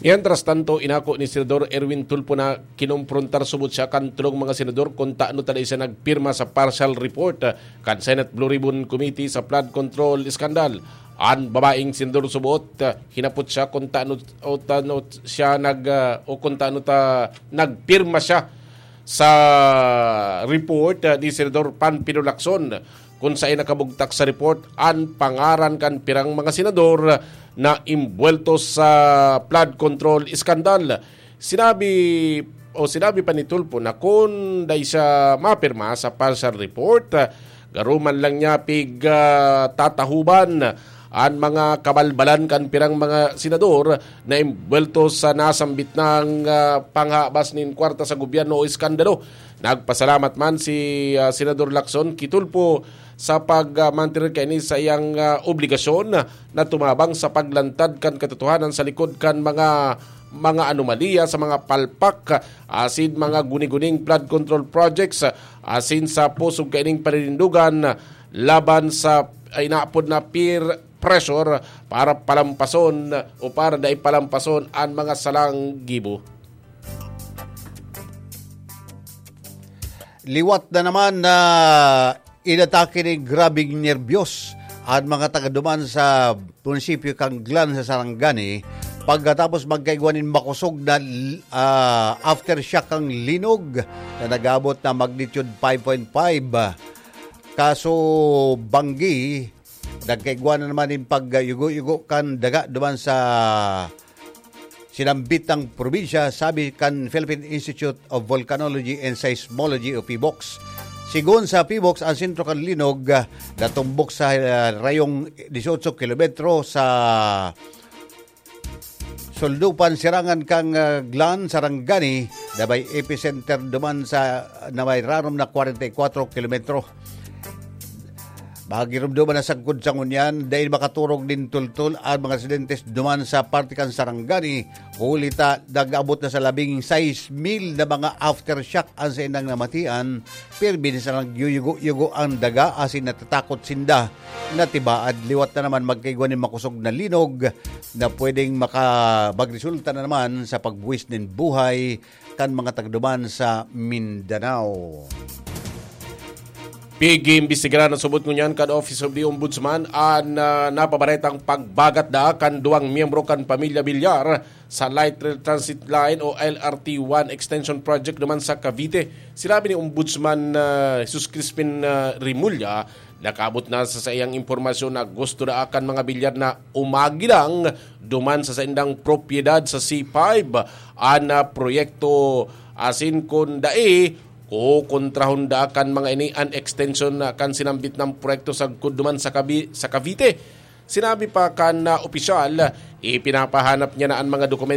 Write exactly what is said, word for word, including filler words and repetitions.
Mientras tanto, inako ni Senador Erwin Tulfo na kinomprontar subot siya kan tulong mga senador kun tano ta dai siya nagpirma sa partial report, ah, kan Senate Blue Ribbon Committee sa flood control scandal. An babaeng senador subot, ah, hinapot siya kun tano o tano siya nag, ah, o kun tano ta nagpirma siya sa report, ah, ni Senador Panfilo Lacson, kun saen nakabugtak sa report an pangaran kan pirang mga senador na imbuwelto sa flood control scandal. Sinabi o sinabi pa ni Tulfo na kun dai siya mapirma sa partial report, ah, garo man lang niya pig, ah, tatahuban an mga kabalbalan kan pirang mga senador na imbuwelto sa nasambit nang, ah, panghabas nin kwarta sa gobyerno o eskandalo. Nagpasalamat man si, ah, Senador Lacson ki Tulfo sa pag, ah, mantener kaini sa iyang, ah, obligasyon na tumabang sa paglantad kan katotohanan sa likod kan mga, mga anomalya sa mga palpak, ah, asin mga guni-guning flood control projects, ah, asin sa pusog kaining paninindugan laban sa, ay, inaapod na peer pressure para palampason o para dai palampason an mga salang gibo. Liwat na naman na inatake nin grabeng nerbiyos an mga taga duman sa munisipyo kan Glan sa Sarangani pagkatapos magkaigwa nin makosog na, ah, aftershock kan linog na nag-abot na magnitude five point five. Kaso banggi, nagkaigwa na naman nin pagyugo-yugo kan daga duman sa sinambitang probinsya, sabi kan Philippine Institute of Volcanology and Seismology o PHIVOLCS. Sigon sa PHIVOLCS, ang sentro kan linog, ah, natumbok sa, ah, rayong dieciocho kilometro sa Suldupan, sirangan kan, ah, Glan, Sarangani, na may epicenter duman sa, na may rarom na kwarenta y kwatro kilometro. Magirumduman na sagkod sa ngunyan, dai makaturog nin tultol an mga residentes duman sa parte kan Sarangani, huli ta nag-abot na sa labing sais mil na mga aftershock an saindang namatian. Pirmi na silang nagyuyugo-yugo ang daga asin natatakot sinda na tibaad liwat na naman magkaigwa nin makosog na linog na pwedeng maka-, magresulta na naman sa pagbuwis nin buhay kan mga tagduman sa Mindanao. Pig-iimbestigaran na subot ngunyan kan Office of the Ombudsman an, ah, napabaretang pagbagat da kan duwang miyembro kan pamilya Villar sa Light Rail Transit Line o L R T one Extension Project naman sa Cavite. Sinabi ni Ombudsman, ah, Jesus Crispin, ah, Remulla, nakaabot na sa saiyang impormasyon na gusto na kan mga Villar na umagilang duman sa saindang propiedad sa C five an, ah, proyekto, asin kun dai, kukontrahon da kan mga ini an extension na kan sinambit na proyekto sagkod duman sa Cavi-, sa Cavite. Sinabi pa kan, ah, opisyal, ipinapahanap niya na an mga dokumento